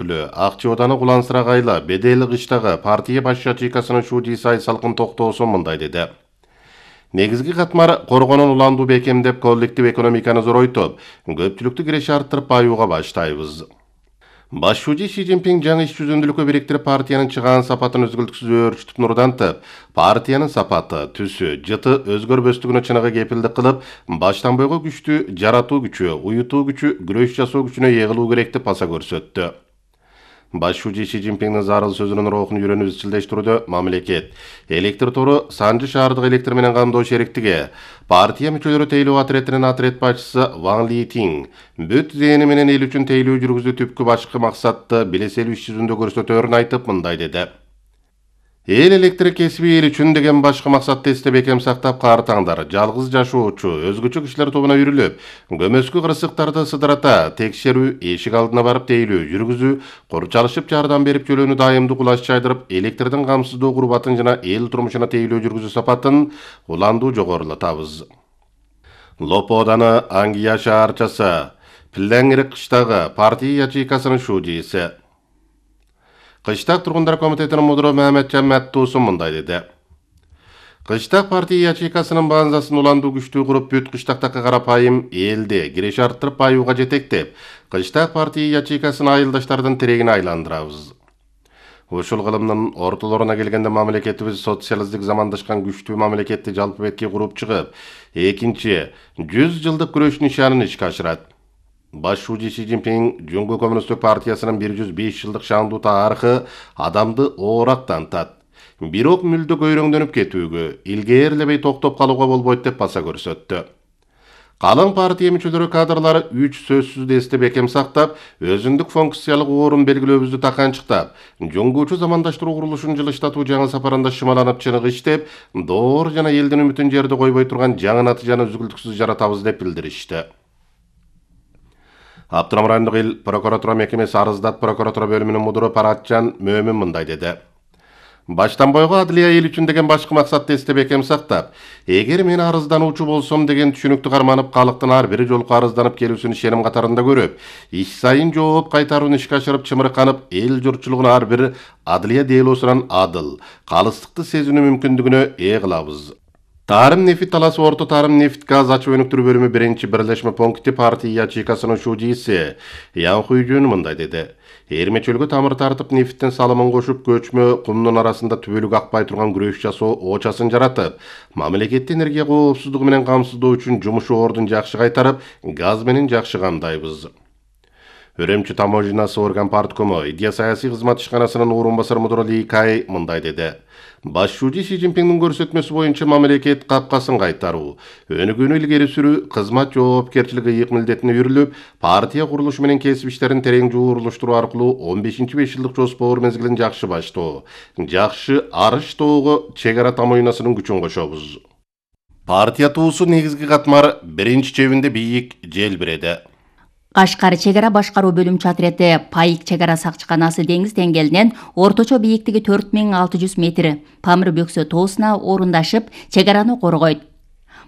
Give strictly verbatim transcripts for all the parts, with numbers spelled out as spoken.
өкүлү Акчы Ооданы Кулансырагайла Бедели кыштагы партия баш ячейкасынын шуудийси Айсалкын Токтоосун мындай деди. Негизги катмар коргонун уландуу бекемдеп коллектив экономиканы зоройтуп, көпчүлүктү киреше арттырып баюуга баштайбыз. Баш шууди Си Цзиньпин жаңы иш жүзүндүүлүккө бириктирип партиянын чыгаан сапатын өзгөлтүксүз өөрчүтүп нурдантып, партиянын сапаты, түсү, жыты өзгөрбөстүгүнө чыныгы кепилдик кылып, баштан бойго күчтү жаратуу күчү, уютуу күчү, күрөш жасоо күчүнө ээлүү керек деп баса көрсөттү. Баш шууди Си Цзиньпиндин зарыл сөзүнүн рухун үйрөнүп изчилдештирүүдө мамлекет, электр тору Санжы шаардык электр менен камдоо шериктиги, партия мүчөлөрү тейлөө атретинин атрет башчысы Ван Литин бүт зээни менен эл үчүн тейлөө жүргүзүү түпкү башкы максатты билеселүү иш жүзүндө көрсөтөөрүн айтып мындай деди. Эл электр кесиби эл үчүн деген башкы максатты эсте бекем сактап каартаңдар, жалгыз жашоочу, өзгөчө кишилер тобуна үйрүлүп, көмөскү кырсыктарды сыдырата, текшерүү, эшик алдына барып тейлөө жүргүзүү, курчалышып жардам берип жөлөнү дайымдуу кулаш чайдырып, электрдин камсыздоо курбатын жана эл турмушуна тейлөө жүргүзүү сапатын уландуу жогорулатабыз. Лопо Ооданы Аңгия шаарчасы, Пилеңири кыштагы партия ячейкасынын шуудийси. Кыштак тургундар комитетинин мудуру Маматжан Маттуусун мындай деди. Кыштак партия ячейкасынын базасын уландуу күчтүү куруп, бүт кыштактагы карапайым элди киреше арттырып баюуга жетектеп, кыштак партия ячейкасын айылдаштардын тирегине айландырабыз. Ушул кылымдын ортолоруна келгенде мамлекетибиз социалисттик замандашкан күчтүү мамлекетти жалпы бетке куруп чыгып, экинчи жүз жылдык күрөш нишанын ишке ашырат. Баш шууди Си Цзиньпин Жуңгу коммунисттик партиясынын бир жүз беш жылдык шаандуу тарыхы адамды оорак тантат. Бирок мүлдө көйрөңдөнүп кетүүгө, илгээрлебей токтоп калууга болбойт деп баса көрсөттү. Калың партия мүчөлөрү кадрлары үч сөзсүз эсте бекем сактап, өзүндүк функциялык орун белгилөөбүздү таканчыктап, жуңгуучу замандаштыруу курулушун жылыштатуу жаңы сапарында шымаланып чыныгы иштеп, доор жана элдин үмүтүн жерде койбой турган жаңы натыйжаны үзгүлтүксүз жаратабыз деп билдиришти. Аптырам райондук эл прокуратура мекемеси Арыздат прокуратура бөлүмүнүн мудуру Паратжан Мөмүн мындай деди. Баштан бойго адлия эл үчүн деген башкы максатты эсте бекем сактап, эгер мен арыздануучу болсом деген түшүнүктү карманып, калктын ар бир жолку арызданып келүүсүн ишеним катарында көрүп, иш сайын жооп кайтарууну ишке ашырып чымырканып, эл журтчулугун ар бир адлия делосунан адыл, калыстыкты сезинүү мүмкүндүгүнө ээ кылабыз. Тарым нефит таласы Орто Тарым нефт газ ачуу өнүктүрүү бөлүмү биринчи бирлешме пункти партия ячейкасынын шуудийси Ян Хуйжун мындай деди. Эрмечөлгө тамыр тартып нефттин салымын кошуп, көчмө кумдун арасында түбөлүк акпай турган күрөш жасоо оочасын жаратып, мамлекетти энергия коопсуздугу менен камсыздоо үчүн жумушу ордун жакшы кайтарып, газ менен жакшы камдайбыз. Өрөмчү таможнасы орган парткому идея саясий кызмат ишканасынын орун басары мудуру Ли Кай мындай деди. Баш шууди Си Цзиньпиндин көрсөтмөсү боюнча мамлекет капкасын кайтаруу, өнүгүүнү илгери сүрүү, кызмат жоопкерчилиги ыйык милдетине үйрүлүп, партия курулушу менен кесип иштерин терең жуурулуштуруу аркылуу он бешинчи беш жылдык жоспор мезгилин жакшы баштоо, жакшы арыштоого чек ара таможнасынын күчүн кошобуз. Партия туусу негизги катмар биринчи чебинде бийик желбиреди. Кашкар чек ара башкаруу бөлүмчү отрети Пайык чек ара сакчыканасы деңиз деңгээлинен орточо бийиктиги төрт миң алты жүз метр Памыр бөксө тоосуна орундашып, чек араны коргойт.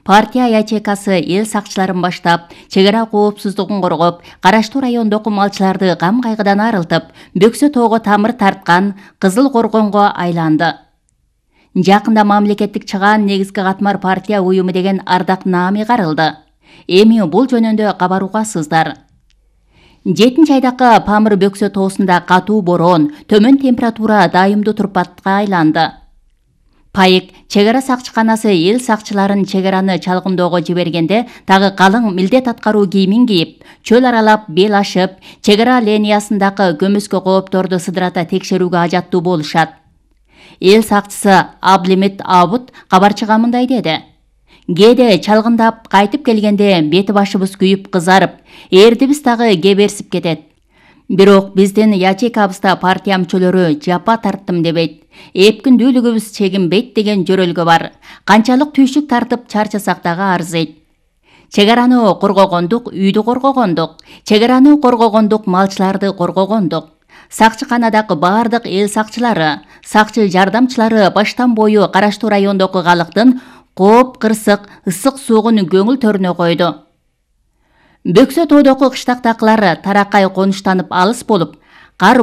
Партия ячейкасы эл сакчыларын баштап, чек ара коопсуздугун коргоп, караштуу райондогу малчыларды кам кайгыдан арылтып, бөксө тоого тамыр тарткан Кызыл Коргонго айланды. Жакында мамлекеттик чыгаан негизги катмар партия уюму деген ардак наами карылды. Эми бул жөнүндө кабаруугасыздар. Жетинчи айдакы Памыр бөксө тоосунда катуу бороон, төмөн температура дайымдуу турпатка айланды. Пайык чек ара сакчыканасы эл сакчыларын чек араны чалгындоого жибергенде дагы калың милдет аткаруу кийимин кийип, чөл аралап, бел ашып, чек ара линиясындагы көмөскө коопторду сыдырата текшерүүгө ажаттуу болушат. Эл сакчысы Аблимит Абут кабарчыга мындай деди. Кээде чалгындап кайтып келгенде бети башыбыз күйүп кызарып, эрдибиз дагы кеберсип кетет. Бирок биздин ячейкабызда партия мүчөлөрү жапа тарттым дебейт. Эпкиндүүлүгүбүз чегинбейт деген жөрөлгө бар. Канчалык түйшүк тартып чарчасак дагы арзыйт. Чек араны коргогондук, үйдү коргогондук. Чек араны коргогондук, малчыларды коргогондук. Сакчыканадагы бардык эл сакчылары, сакчы жардамчылары баштан бою караштуу райондогу калктын кооп кырсык ысык суугун көңүл төрүнө койду. Бөксө тоодогу кыштактакылар таракай конуштанып алыс болуп, кар